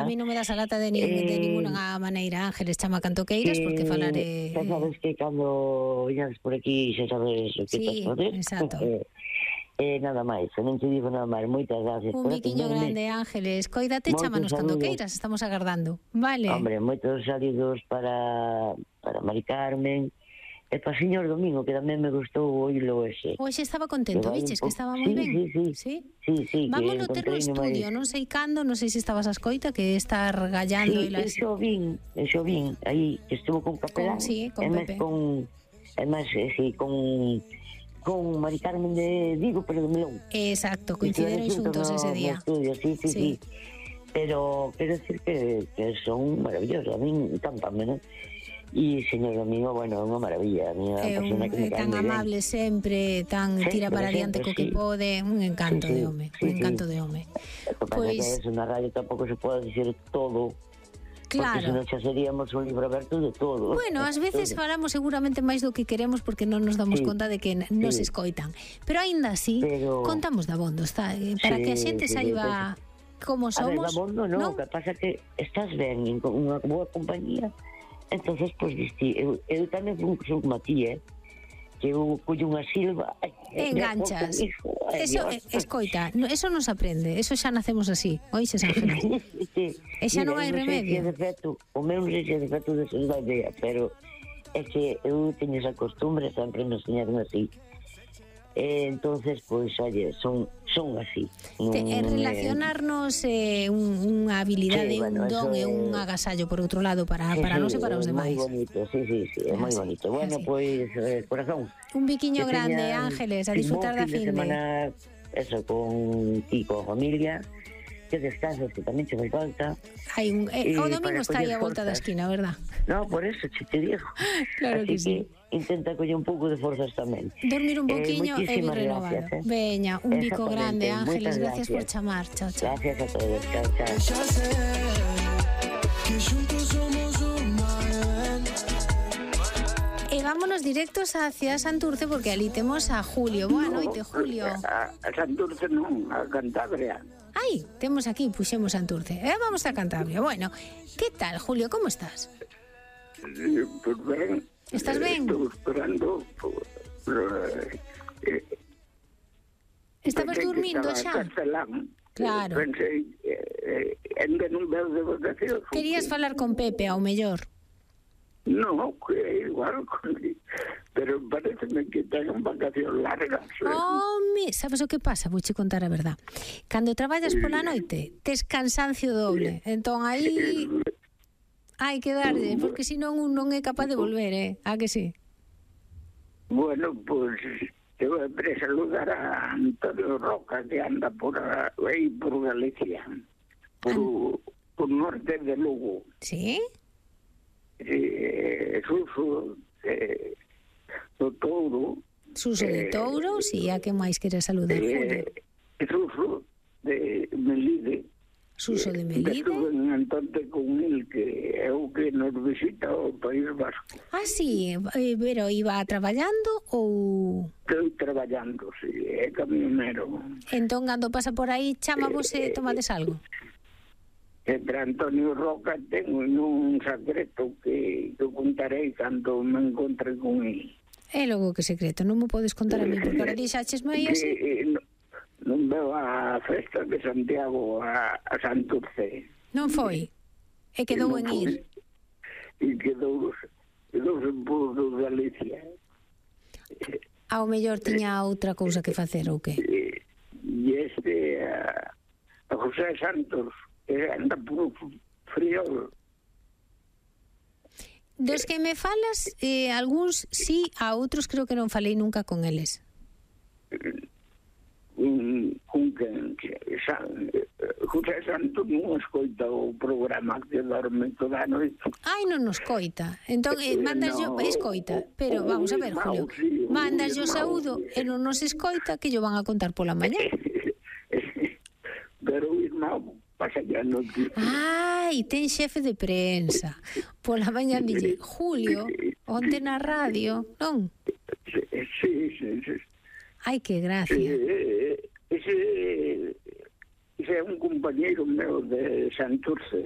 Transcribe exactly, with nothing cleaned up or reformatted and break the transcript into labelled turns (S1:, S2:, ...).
S1: A mí non me das a lata de, nin, eh, de ninguna maneira, Ángeles, chama canto queiras, porque falaré...
S2: Xa sabes que cando viñades por aquí, xa sabes o que
S1: sí,
S2: estás fazer.
S1: Exacto.
S2: Eh, nada máis, non te digo nada máis, moitas gracias.
S1: Un biquiño grande, Ángeles, coídate, chámanos cando queiras, estamos agardando, vale?
S2: Hombre, moitos saludos para, para Mari Carmen, e para o señor Domingo, que tamén me gustou oílo ese.
S1: Hoxe estaba contento, viches, que estaba moi
S2: sí,
S1: ben.
S2: Sí, sí,
S1: sí.
S2: sí, sí
S1: Vámonos ter no estudio, non sei cando, non sei se estabas a escoita, que está regallando...
S2: Sí, eso vin, eso vin, aí, que estuvo con Capelán,
S1: con, sí, con Pepe.
S2: Con, e máis, sí, con... con Mari Carmen de Vigo, pero de Melón.
S1: Exacto, coincideron xuntos
S2: no,
S1: ese día.
S2: No estudio, sí, sí, sí, sí. Pero quero decir que, que son maravillosos, a mí encantame, ¿no? E señor Domingo, bueno, é unha maravilla, a mí é
S1: un,
S2: que me
S1: tan amable
S2: bien.
S1: sempre, tan sí, tira para adiante co que sí. pode, un encanto
S2: sí, sí,
S1: de home,
S2: sí,
S1: un encanto
S2: sí.
S1: de home.
S2: Pois pues, que é unha radio tampouco se pode dicir todo.
S1: Claro.
S2: Porque senón xa seríamos un libro aberto de todo.
S1: Bueno, ás veces todo. Falamos seguramente máis do que queremos porque non nos damos sí. conta de que nos sí. escoitan. Pero aínda así, Pero... contamos dabondo, está, para sí, que a xente sí, saiba pues, como somos.
S2: A ver, dabondo non, ¿no? Que pasa que estás ben en unha boa compañía, entonces, pois, pues, eu, eu tamén son como a ti, eh? Que eu collo unha silva
S1: enganchas eso, escoita, eso non se aprende, eso xa nacemos así, oíxes, Ángeles?
S2: Sí.
S1: E xa non hai remedio.
S2: Non sei se é defecto, o meu non sei se é defecto de ser da idea, pero é que eu teño esa costumbre, sempre nos enseñaron así. Eh, entonces, pois, pues, oye, son son así.
S1: Te, eh, relacionarnos é eh, un, unha habilidade, sí, bueno, un don e un agasallo por outro lado para, sí, para nós e para os demais.
S2: Moi bonito, sí, sí, sí, é moi sí, bonito. Bueno, pois, pues, eh, corazón.
S1: Un biquiño grande, Ángeles, a disfrutar da fin de
S2: semana, eso, con ti, con familia, que descanses, que tamén che fai falta.
S1: Hai un, eh, o domingo está aí a volta da esquina, verdad?
S2: No, por eso, che te digo.
S1: Claro
S2: así
S1: que sí.
S2: Que intenta coller un pouco de forzas tamén.
S1: Dormir un poquinho eh, e vir renovado.
S2: Gracias, eh.
S1: Veña, un bico grande, Ángeles, gracias, gracias por chamar. Chao, chao.
S2: Gracias a todos, chao, chao.
S1: E vámonos directos hacia Santurce porque ali temos a Julio. Boa
S3: no,
S1: noite, Julio.
S3: A, a Santurce non, a Cantabria.
S1: Ai, temos aquí, puxemos Santurce. Eh, vamos a Cantabria. Bueno, que tal, Julio, como estás?
S3: Eh, pues ben.
S1: Estás ben?
S3: Estou esperando, pero... Eh,
S1: Estabas dormindo xa?
S3: Castelán.
S1: Claro.
S3: Pensei, eh, ainda non veo de votación.
S1: Querías falar con Pepe, ao mellor?
S3: No, que é igual con él. Pero pareceme que ten vacación largas.
S1: Home, sabes o que pasa? Vouche contar a verdad. Cando traballas pola noite, tes cansancio doble. Entón aí hai que darlle, porque senón un non é capaz de volver, eh? A que sí?
S3: Bueno, pois pues, te vou a saludar a Antonio Roca, que anda por aí por Galicia, por, An... por norte de Lugo.
S1: Sí?
S3: Eh, Suso eh, do Touro.
S1: Suso de Touro, eh, si, a que máis queres saludar, Julio?
S3: Eh, Suso de Melide.
S1: Suso de Melide.
S3: Estuve en Antante con él, que é o que nos visita o País Vasco.
S1: Ah, sí, pero iba traballando ou...
S3: Estou traballando, si, sí, é camionero.
S1: Entón, cando pasa por aí, chama vos e eh, tomades algo?
S3: Entre Antonio Roca tengo un secreto que, que contarei cando me encontre con él.
S1: É logo que secreto, non me podes contar a mí, porque ahora dixachesme aí así.
S3: Non, non veo a festa de Santiago a, a Santurce.
S1: Non foi? E quedou en ir?
S3: E quedou, quedou en Puro de Galicia.
S1: Ao mellor tiña outra cousa que facer, ou que?
S3: E este, a, a José Santos, que anda por frío.
S1: Dos que me falas, eh, algúns sí, a outros creo que non falei nunca con eles.
S3: Un, un que, José Santos non escoita o programa que dorme toda a noite.
S1: Ai, non nos coita. Entón, eh, mandas yo, escoita. Pero, vamos a ver, Julio, mandas yo saúdo e non nos escoita, que yo van a contar pola mañá.
S3: Pero o irmão pasa ya no que...
S1: Ai, ten xefe de prensa. Pola mañá dille, Julio, onte na radio, non?
S3: Sí, sí, sí.
S1: Ai, que gracia.
S3: Eh, ese, ese é un compañeiro meu de Santurce.